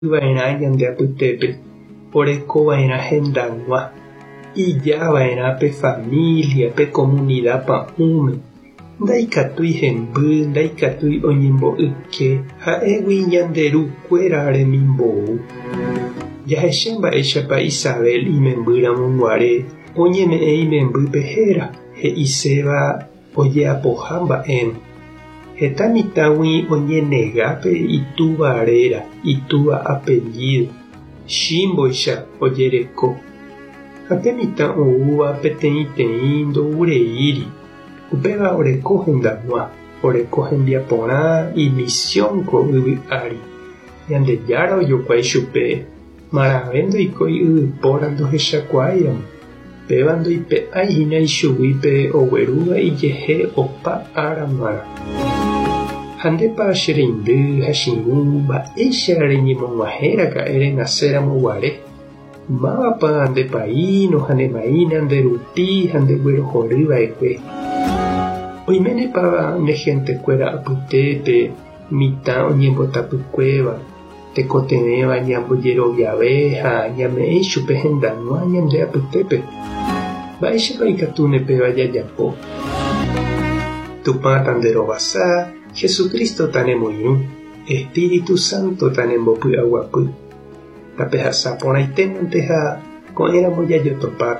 Va'erã ñande apytépe, orekova'erã hendag̃ua, ijava'erã pe familia, pe komunida pa'ũme, ndaikatúi hemby, ndaikatúi oñembo'yke, ha'égui ñande ru kuéra remimbou. Jahecha mba'éichapa Isabel imemby ramo guare oñeme'ẽ imembýpe héra, he'iséva Ojeapoha mba'érõ. Heta mitãgui oñenega pe itúva réra, itúva apellído, chímboicha ojereko. Ha pe mitã oúva peteĩteĩ ndoureíri, upéva oreko hendag̃ua, oreko hembiaporã imisión ko yvy ári. Ñandejára ojokuái chupe Marãve ndoikói yvypóra ndohechakuaáiramo, péva ndoipe'ái hína ichugui pe oguerúva ijehe opa ára g̃uarã. Ha ndépa che reindy ha che irũ mba'éicha reñemog̃uahẽ raka'e renaséramo guare? Mávapa nde paíno ha ne maína nde rupi ha ndeguerohory va'ekue? Oiménepa ne hentekuéra apytépe mitã oñembotapykuéva? Tekotevẽva ñambojeroviave ha ñame'ẽ ichupe hendag̃ua ñande apytépe. Mba'éichapa ikatúne péva jajapo? Tupã tanderovasa, Jesucristo tanemoirũ, Espíritu Santo tanembopy'aguapy. Tapehasa porãitémante ha ko'ẽramo jajotopáta.